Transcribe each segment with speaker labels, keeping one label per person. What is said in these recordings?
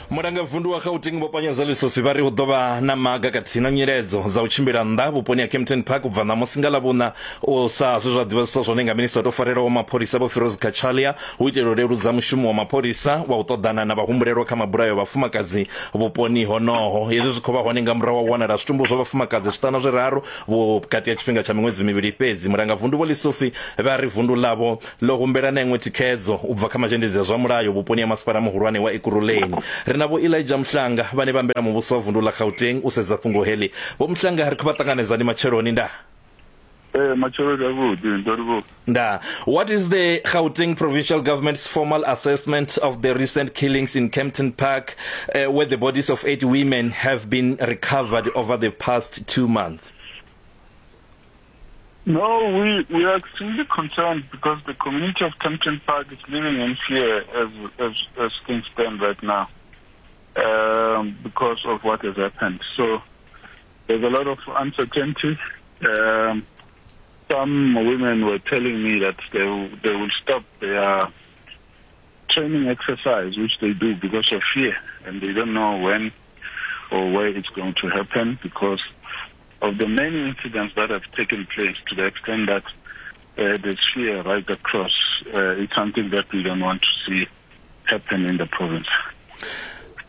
Speaker 1: Mulangavundu wa Gauteng Vho Panyaza Lesufi vha ri hu ḓo vha na maga khathihi na nyiledzo dza u tshimbila nnḓa vhuponi ha Kempton Park u bva ṋamusi nga Ḽavhuṋa u sa zwe zwa ḓivhadziswa zwone nga minisiṱa o tou farelaho mapholisa Vho Firoz Cachalia hu itela u leludza mushumo wa mapholisa wa u ṱoḓana na vhahumbulelwa kha mabulayo a vhafumakadzi vhuponi honoho. Hezwi zwi khou vha hone nga murahu ha u wanala zwitumbu zwa vhafumakadzi zwiṱanu zwiraru vhukati ha tshifhinga tsha miṅwedzi mivhili fhedzi. Mulangavundu Vho Lesufi vha ri vundu ḽavho ḽo humbela na iṅwe thikhedzo u bva kha mazhendedzi a zwa mulayo vhuponi ha masipala muhulwane wa Ekurhuleni. Ri na Vho Elijah Mhlanga vhane vha ambela muvhuso wa vundu ḽa Gauteng u sedza fhungo heḽi. Vho Mhlanga ri khou vha ṱanganedza ndi matsheloni ndaa.
Speaker 2: Ee, matsheloni avhuḓi ndo livhuwa.
Speaker 1: Ndaa. What is the Gauteng provincial government's formal assessment of the recent killings in Kempton Park uh, where the bodies of eight women have been recovered over the past two months?
Speaker 2: No, we, we are extremely concerned because the community of Kempton Park is living in fear as, as, as things stand right now um, because of what has happened. So there's a lot of uncertainty. Um, some women were telling me that they, they will stop their training exercise, which they do because of fear, and they don't know when or where it's going to happen because of the many incidents that have taken place to the extent that uh, there's fear right across. Uh, it's something that we don't want to see happen in the province.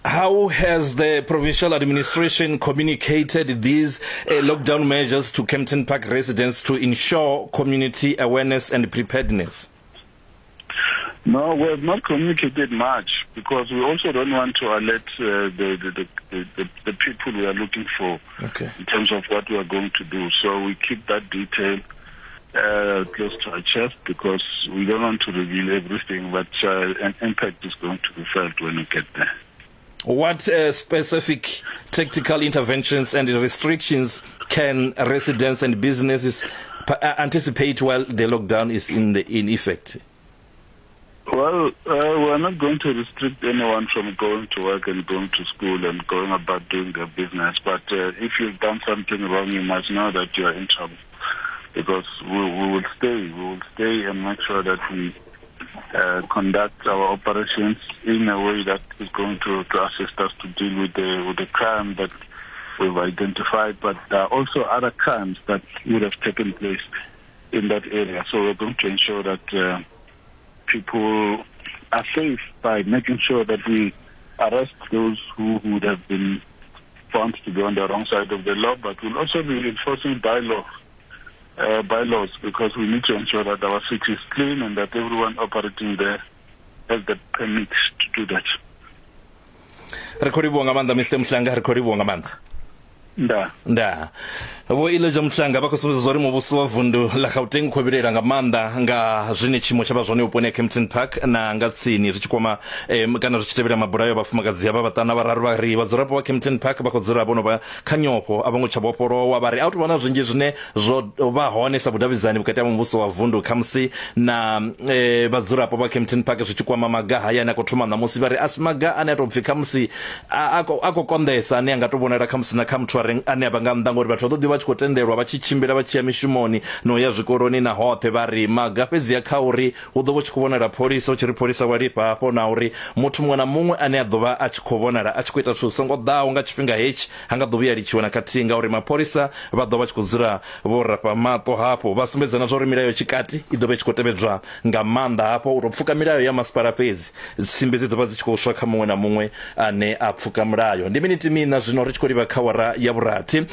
Speaker 1: How has the provincial administration communicated these uh, lockdown measures to Kempton Park residents to ensure community awareness and preparedness?
Speaker 2: No, we have not communicated much because we also don't want to alert uh, the, the, the, the, the people we are looking for okay. in terms of what we are going to do. So we keep that detail uh, close to our chest because we don't want to reveal everything, but uh, an impact is going to be felt when we get there.
Speaker 1: What uh, specific tactical interventions and restrictions can residents and businesses uh, anticipate while the lockdown is in, the, in effect?
Speaker 2: Well, uh, we're not going to restrict anyone from going to work and going to school and going about doing their business. But uh, if you've done something wrong, you must know that you are in trouble. Because we, we will stay. We will stay and make sure that we uh, conduct our operations in a way that is going to, to assist us to deal with the, with the crime that we've identified. But there are also other crimes that would have taken place in that area. So we're going to ensure that uh, people are safe by making sure that we arrest those who would have been found to be on the wrong side of the law, but we'll also be enforcing bylaw, uh, bylaws because we need to ensure that our city is clean and that everyone operating there has the permit to do that.
Speaker 1: Re khou livhuwa nga maanḓa Mr Mhlanga, ri khou livhuwa nga maanḓa.
Speaker 2: Ndaa.
Speaker 1: Ndaa. Vho Elijah Mhlanga vha khou sumbedza zwa uri muvhuso wa vundu ḽa Gauteng u khou vhilaela nga maanḓa nga zwine tshiimo tsha vha zwone vhuponi ha Kempton Park na nga tsini zwi tshi kwama eh, kana zwi tshi tevhela mabulayo a vhafumakadzi havha vhaṱanu na vhararu vha ri vhadzulapo vha Kempton Park vha khou dzula vho no vha kha nyofho a vho ngo tsha vhofholowa vha ri a hu tou vha na zwinzhi zwine zwo vha hone sa vhudavhidzani vhukati ha muvhuso wa vundu khamusi na eh, vhadzulapo vha Kempton Park zwi tshi kwama maga haya ane a khou thoma ṋamusi vha ri a si maga ane a tou pfi khamusi a a khou konḓesa ane a nga tou vhonala khamusi na kha muthu are ane a vha nga nnḓa ngori vhathu vha ḓo ḓi vha tshi khou tendelwa vha tshi tshimbila vha tshi ya mishumoni na u ya zwikoloni na hoṱhe vha ri maga fhedzi a kha uri hu ḓo vha tshi khou vhonala pholisa u tshi ri pholisa wa lifha hafho na uri muthu muṅwe na muṅwe ane a ḓo vha a tshi khou vhonala a tshi khou ita zwithu zwi songo ḓaho nga tshifhinga hetshi ha nga ḓo vhuya litshiwa na khathihi ngauri mapholisa vha ḓo vha tshi khou dzula vho rafha maṱo hafho vha sumbedza na zwa uri milayo tshikati i ḓo vha i tshi khou tevhedzwa nga maanḓa hafho u tou pfuka milayo ya masipala fhedzi tsimbi dzi ḓo vha dzi tshi khou swa kha muṅwe na muṅwe ane a pfuka mulayo ndi miniti miṋa zwino ri tshi khou livha kha wara ya vhurathi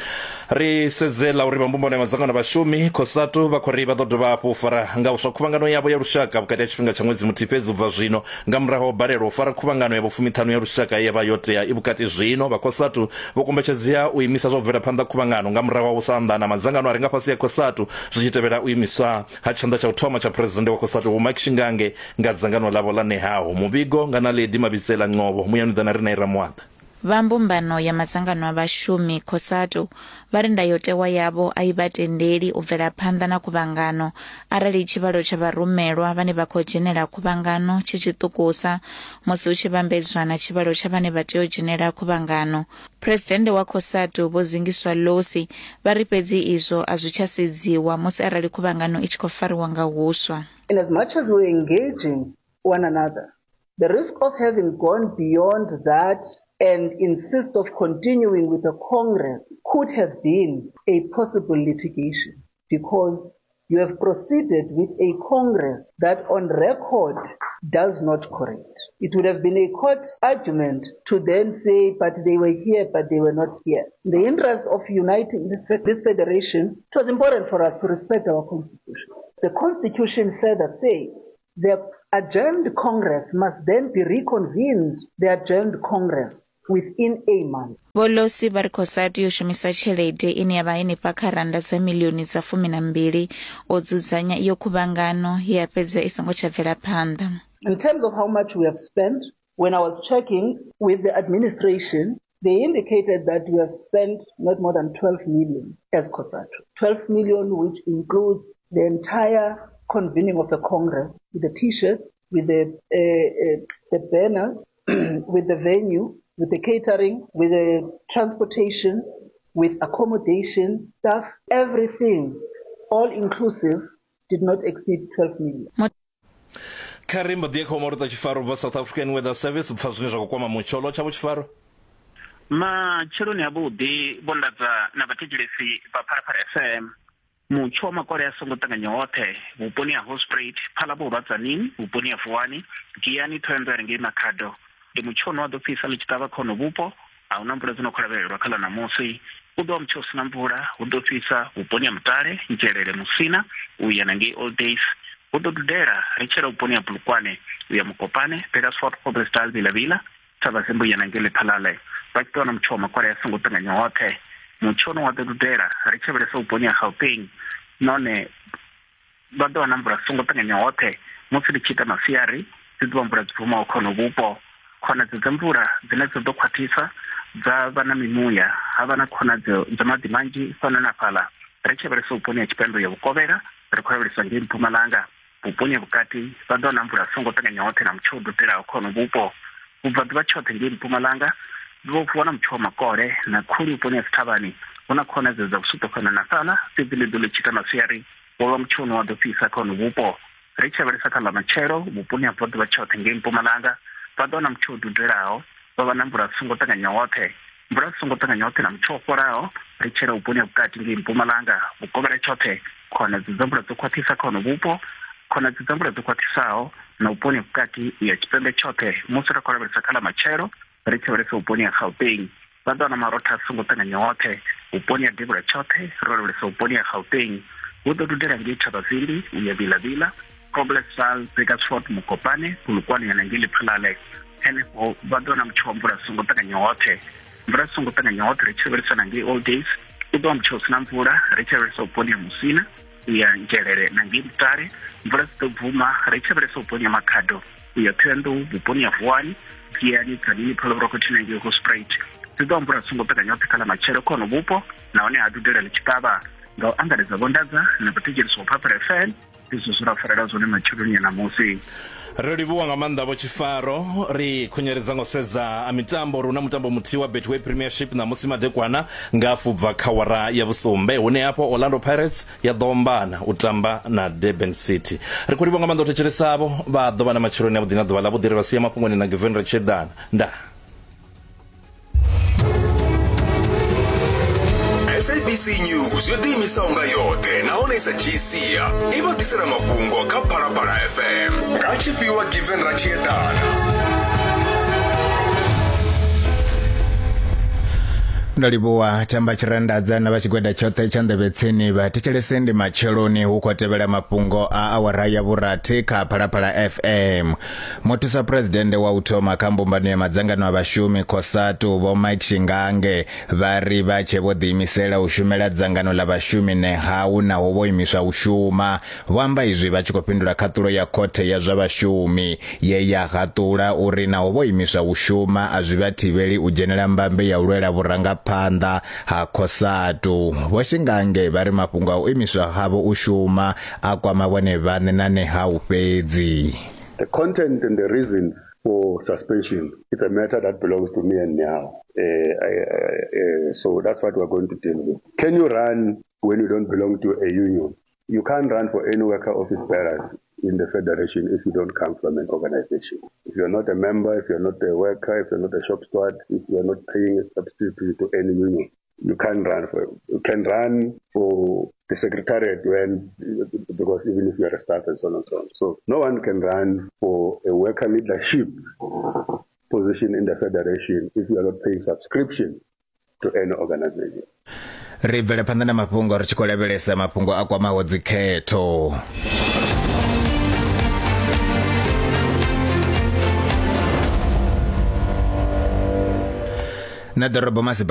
Speaker 1: ri sedze ḽa uri vha mbumbano ya madzangano a vhashumi cosatu vha khou ri vha ḓo dovha hafhu u fara nga uswa khuvhangano yavho ya lushaka vhukati ha tshifhinga tsha ṅwedzi muthihi fhedzi u bva zwino nga murahu ha u balelwa u fara khuvhangano ya vhufumiṱhanu ya lushaka ye ya vha yo tea i vhukati zwino vha cosatu vho kombetshedzea u imisa zwa u bvela phanḓa khuvhangano nga murahu ha u sa anḓana madzangano a re nga fhasi ya cosatu zwi tshi tevhela u imiswa ha tshanḓa tsha u thoma tsha Phresidennde wa Cosatu Vho Mike Shingange nga dzangano ḽavho ḽa Nehawu. Muvhigo nga Naledi Mabitsela Ngcobo, Muyani u ḓa na riṋe Ramuaḓa.
Speaker 3: Vha mbumbano ya madzangano a vhashumi, Cosatu, vha ri ndayotewa yavho a i vha tendeli u bvela phanḓa na khuvhangano arali tshivhalo tsha vharumelwa vhane vha khou dzhenela khuvhangano tshi tshiṱukusa musi hu tshi vhambedzwa na tshivhalo tsha vhane vha tea u dzhenela khuvhangano. Phresidennde wa Cosatu Vho Zingiswa Losi vha ri fhedzi izwo a zwi tsha sedziwa musi arali khuvhangano i tshi khou fariwa nga huswa.
Speaker 4: In as much as we're engaging one another, The risk of having gone beyond that and insist of continuing with the Congress could have been a possible litigation, because you have proceeded with a Congress that on record does not correct. It would have been a court argument to then say, but they were here, but they were not here. In the interest of uniting this federation, it was important for us to respect our Constitution. The Constitution further says the adjourned Congress must then be reconvened, the adjourned Congress, within a month.
Speaker 3: Vho Losi vha ri COSATU yo shumisa tshelede ine ya vha henefha kha rannda dza miḽioni dza 12 u dzudzanya iyo khuvhangano ye ya fhedza i songo tsha bvela phanḓa.
Speaker 4: In terms of how much we have spent, when I was checking with the administration, they indicated that we have spent not more than 12 million as COSATU. 12 million, which includes the entire convening of the Congress, with the T-shirts, with the banners, with the venue, with the catering, with the transportation, with accommodation, staff, everything, all inclusive, did not exceed 12 million.
Speaker 1: Kha ri mbo ḓi ye kha Maruta Tshifaro ubva South African Weather Service u pfa zwine zwa khou kwama mutsho. Lotsha Vho Tshifaro.
Speaker 5: Matsheloni avhuḓi Vho Ndadza na vhathetshelesi vha Phalaphala FM. Mutsho wa makole a songo ṱanganya hoṱhe vhuponi ha Hoedspruit, Phalaborwa, Tzaneen, vhuponi ha Vuwani, Giyani, Thohoyandou ngei Makhado. Ndi mutsho une wa ḓo fhisa ḽi tshi ṱavha kha hono vhupo. A hu na mvula dzi no khou lavhelelwa kha ḽa ṋamusi. U ḓo vha mutsho u si na mvula, hu ḓo fhisa vhuponi ha Mutale, Nzhelele, Musina u ya na ngei Old Days. Hu ḓo dudela ri tshi yela vhuponi ha Bulukwane u ya Mokopane, Petersfort, Groblersdal, Vila-Vila, Thabazimbi u ya na ngei Lephalale. Vha tshi ḓo wana mutsho wa makole a songo ṱanganya hoṱhe. Mutsho une wa ḓo dudela ri tshi lavhelesa vhuponi ha Gauteng nahone vha ḓo wana mvula songo ṱanganya hoṱhe musi ḽi tshi ita masiari, dzi ḓo vha mvula dzi bvumaho kha hono vhupo. Khonadzeo dza mvula dzine dza ḓo khwaṱhisa dza vha na mimuya, ha vha na khonadzeo dza maḓi manzhi fhano na fhaḽa. Ri tshi lavhelesa vhuponi ha tshipembe ya vhukovhela, ri khou lavhelesa ngei Mpumalanga, vhuponi ha vhukati vha ḓo wana mvula songo ṱanganya hoṱhe na mutsho u dudelaho kha hono vhupo. Vhubvaḓuvha tshoṱhe ngei Mpumalanga vho wana mutsho wa makole na khuli vhuponi ha dzithavhani. Hu na khonadzeo dza vhusuṱo fhano na fhaḽa, fhedzi ḽi ḓo ḽi tshi ita masiari wo vha mutsho une wa ḓo fhisa kha hono vhupo. Ri tshi lavhelesa kha ḽa matshelo vhuponi ha vhubvaḓuvha tshoṱhe ngei Mpumalanga vha ḓo wana mutsho u dudelaho, vha vha na mvula dzi songo ṱanganya hoṱhe. Mvula dzi songo ṱanganya hoṱhe na mutsho wo fholaho ri tshela vhuponi ha vhukati ngei Mpumalanga, vhukovhela tshoṱhe khonadzeo dza mvula dzo khwaṱhisa kha hono vhupo, khonadzeo dza mvula dzo khwaṱhisaho na vhuponi ha vhukati u ya tshipembe tshoṱhe. Musi ri khou lavhelesa kha ḽa matshelo ri tshi lavhelesa vhuponi ha Gauteng vha ḓo wana marotha a songo ṱanganya hoṱhe. Vhuponi ha devhula tshoṱhe ro lavhelesa vhuponi ha Gauteng hu ḓo dudela ngei Thabazimbi u ya Vila-Vila, Groblersdal, Burgersfort, Mokopane, Polokwane ya na ngei Lephalale. Henefho vha ḓo wana mutsho wa mvula songo ṱanganya hoṱhe. Mvula songo ṱanganya hoṱhe ri tshi lavhelesa na ngei Old Days u ḓo vha mutsho u si na mvula ri tshi lavhelesa vhuponi ha Musina u ya Nzhelele na ngei Mutale. Mvula dzi ḓo bvuma ri tshi lavhelesa vhuponi ha Makhado u ya Thohoyandou, vhuponi ha Vuwani, Giyani, Tzaneen, Phalaborwa khathihi na ngei Hoedspruit. Dzi ḓo vha mvula songo ṱanganya hoṱhe kha ḽa matshelo kha hono vhupo nahone ha dudela ḽi tshi ṱavha. Nga u angaredza Vho Ndadza na vhathetshelesi vha Phalaphala FM, ndi zwe zwe ra farela zwone matsheloni a ṋamusi.
Speaker 1: Ro livhuwa nga maanḓa Vho Tshifaro. Ri khunyeledza nga u sedza mitambo uri hu na mutambo muthihi wa Betway Premiership ṋamusi madekwana nga hafhu bva kha wara ya vhusumbe, hune hafho Orlando Pirates ya ḓo ombana u tamba na Durban City. Ri khou livhuwa nga maanḓa u thetshelesa avho vha ḓo vha na matsheloni avhuḓi na ḓuvha ḽavhuḓi. Ri vha sia mafhungoni na Given Ratshedana. Ndaa.
Speaker 6: SABC News yo ḓiimisaho nga yoṱhe nahone i sa dzhii sia i vha ḓisela mafhungo kha Phalaphala FM nga tshifhiwa Given Ratshiedana.
Speaker 7: Ndo livhuwa Thamba Tshirandadza na vha tshigwada tshoṱhe tsha nḓevhe tsini. Vha thetshelese ndi matsheloni hu khou tevhela mafhungo a awara ya vhurathi kha Phalaphala FM. Muthusa Phresidennde wa u thoma kha mbumbano ya madzangano a vhashumi COSATU Vho Mike Shingange vha ri vha tshe vho ḓiimisela u shumela dzangano ḽa vhashumi NEHAWU naho vho imiswa u shuma. Vho amba izwi vha tshi khou fhindula khaṱulo ya khothe ya zwa vhashumi ye ya haṱula uri naho vho imiswa u shuma a zwi vha thivheli u dzhenela mbambe ya u lwela vhurangaphanḓa ha COSATU. Vho Shingange vha ri mafhungo a u imiswa havho u shuma a kwama vhone vhaṋe na NEHAWU fhedzi.
Speaker 8: The content and the reasons for suspension, it's a matter that belongs to me and now. So that's what we're going to deal with. Can you run when you don't belong to a union? You can't run for any worker office bearers. in the federation if you don't come from an organization. If you're not a member, if you're not a worker, if you're not a shop steward, if you're not paying a subscription to any union, you can't run for you can run for the secretariat when because even if you're a staff and so on and so on. So no one can run for a worker leadership position in the federation if you are not paying subscription to any organization.
Speaker 7: Ri bvele phanḓa na mafhungo ri tshi khou lavhelesa mafhungo a kwamaho dzikhetho. Na ḓorobo masipala